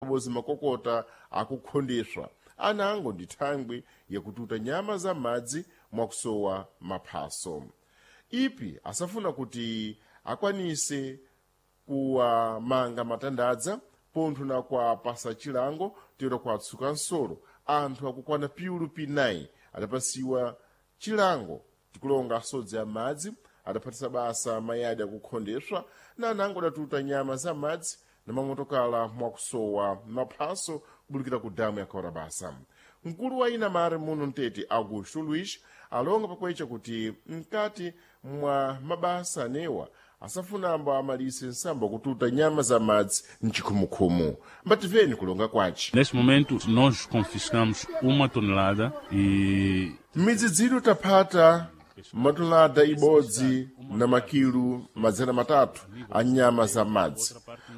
Pabodzi makokota akukhondeswa anango ndi thangwi yakututa nyama za madzi mwakusowa maphaso. Ipi asafuna kuti akwanise kuwamanga matandadza pontho na kuwapasa chilango tero kuwatsuka nsolo anthu akukwana piulu p9 adapasiwa chilango tikulonga asodzi amadzi adaphatisa basa mayadi akukhondeswa na anango adatuta nyama za madzi na mamotokala mwakusowa maphaso kubulikira ku damu ya Kaurabasa. Mkulu wa inamare muno mtete Augusto Luis alonga pakwecha kuti mkati mwa mabasa anewa asafunambo amalise nsambo kututa nyama za madzi mchikhumukhumu. Mbativeni kulonga kwace. Neste momento, nós confiscamos uma tonelada e M'midzidziro taphata matonelada ibodzi na makilu 300 a nyama za madzi.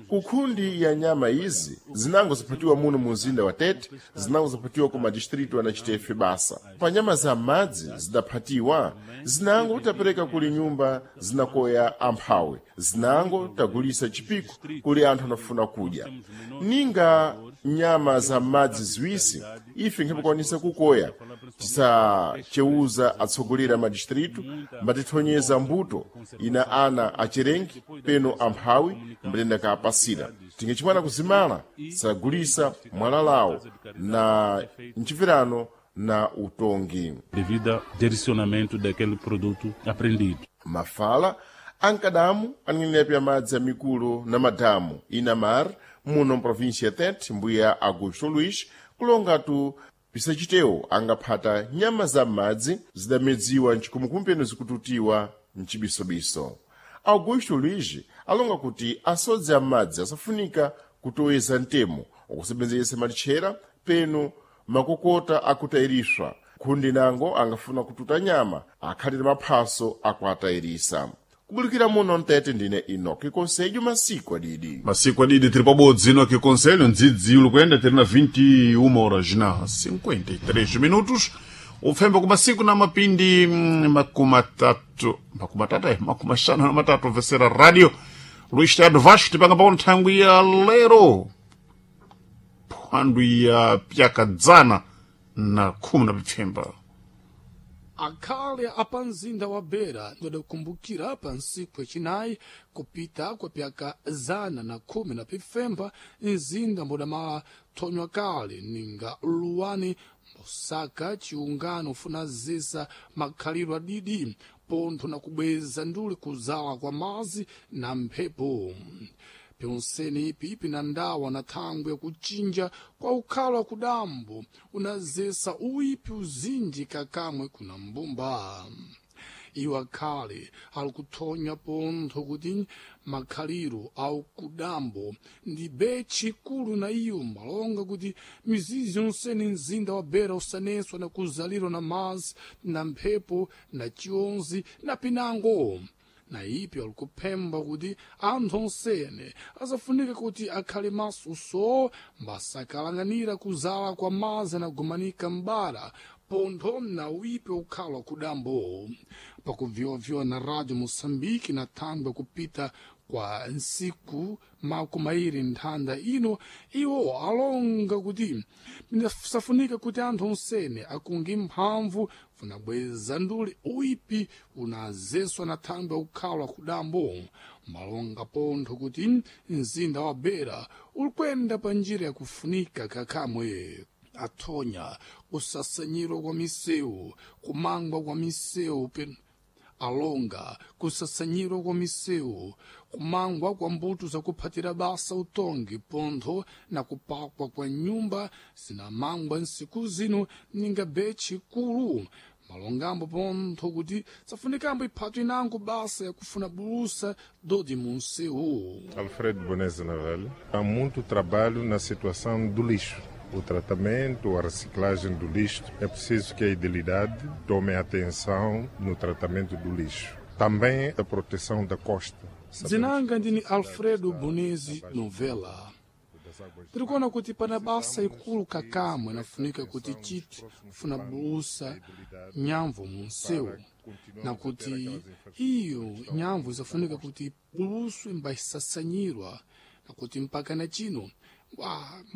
Kukhundi ya nyama izi zinango ziphatiwa muno mu mzinda wa Tete, zinango ziphatiwa ku madistritu anachitefe basa. Pa nyama za madzi zidaphatiwa, zinango tapereka kuli nyumba zinakoya amphawi, zinango tagulisa chipiko kuli anthu anafuna kudya. Ninga nyama za madzi ziwisi ife nkhapakwanisa kukoya tisachewuza atsogoleri a madistritu mbatithonyeza mbuto ina ana acherengi peno amphawi mbatenda kaapasira tingechimwana kuzimala sagulisa mwalalawo na mchipirano na utongi. Devido ao direcionamento daquele produto apreendido. Mafala ankadamu aneng'enepi amadzi amikulu na madamu inamar muno mprovinsia ya Tete mbuya Augusto Luis kulongatu pisachitewo angaphata nyama za m'madzi zidamedziwa mchikhumukhumu peno zikututiwa mchibisobiso. Augusto Luis alonga kuti asodzi amadzi asafunika kutoweza mtemo wakusebenzesa malitchera peno makokota akutayiriswa khundi nango angafuna kututa nyama akhalire maphaso akuatayirisa. Kubulikira muno mtete ndine Enoki Konselho masiku adidi. Masiku adidi tiri pabodzi Enoki Conselho ndzidzi uli kuyenda tiri na 21 horas na 53 minutos. Upfemba ku masiku na mapindi makumatatu makumatatu makumaxanu na matatu vesera radio Luís Teatro Vasco tipanga pano nthangwi ya lero phwandu ya pyakadzana na khumi na pipfemba. Akhale apa mzinda wa Beira wadakumbukira pa ntsiku yacinayi kupita kwa pyaka 115 mzinda mbodamala thonywa kale ninga luwani mbosaka chiungano funa zisa makhalidwe adidi pontho na kubweza nduli kuzala kwa mazi na mphepo. Pyonseni ipi pina ndawa na thangwi yakuchinja kwa ukhala kudambo unazesa uipi uzinji kakamwe kuna mbumba. Iwo akhale ali kuthonya pontho kuti makhaliro au kudambo ndi betchi ikulu na iyo malonga kuti mizizi yonsene mzinda wa Beira usaneswa na kuzalirwa na mazi na mphepo na chionzi na pinango. Na ipi alikuphemba kuti anthu onsene azafunika kuti akhale maso so mbasakalanganira kuzala kwa mazi anagumanika m'bara pontho na uipi ukhala kudambo. Pakuviwaviwa na radio Moçambique na thangwi kupita kwa ntsiku makumairi nthanda ino iwo alonga kuti safunika kuti anthu onsene akunge mphamvu funabweza nduli uipi unazeswa na thangwi ukhala kudambo. Malonga pontho kuti mzinda wa Beira ulikwenda pa njira yakufunika kakamwe. Athonya kusasanyirwa kwa misewu kumangwa kwa misewu alonga kusasanyirwa kwa misewu kumangwa kwa mbuto zakuphatira basa utongi pontho na kupakwa kwa nyumba zinamangwa nsiku zino ninga betchi ikulu. Malongambo pontho kuti safunikambo iphatwa inango basa yakufuna bulusa dodi munsewu. Alfredo Boneza Navel. Há muito trabalho na situação do lixo. O tratamento, a reciclagem do lixo. É preciso que a idilidade tome atenção no tratamento do lixo. Também a proteção da costa. Dzinanga ndini Alfredo Bonezi Novela. Tirikuona kuti pana basa ikulu kakamwe inafunika kuti chiti funa bulusa nyamvu munsewu na kuti iyo nyamvu isafunika kuti ibuluswe mba isasanyirwa na kuti mpaka na chino wa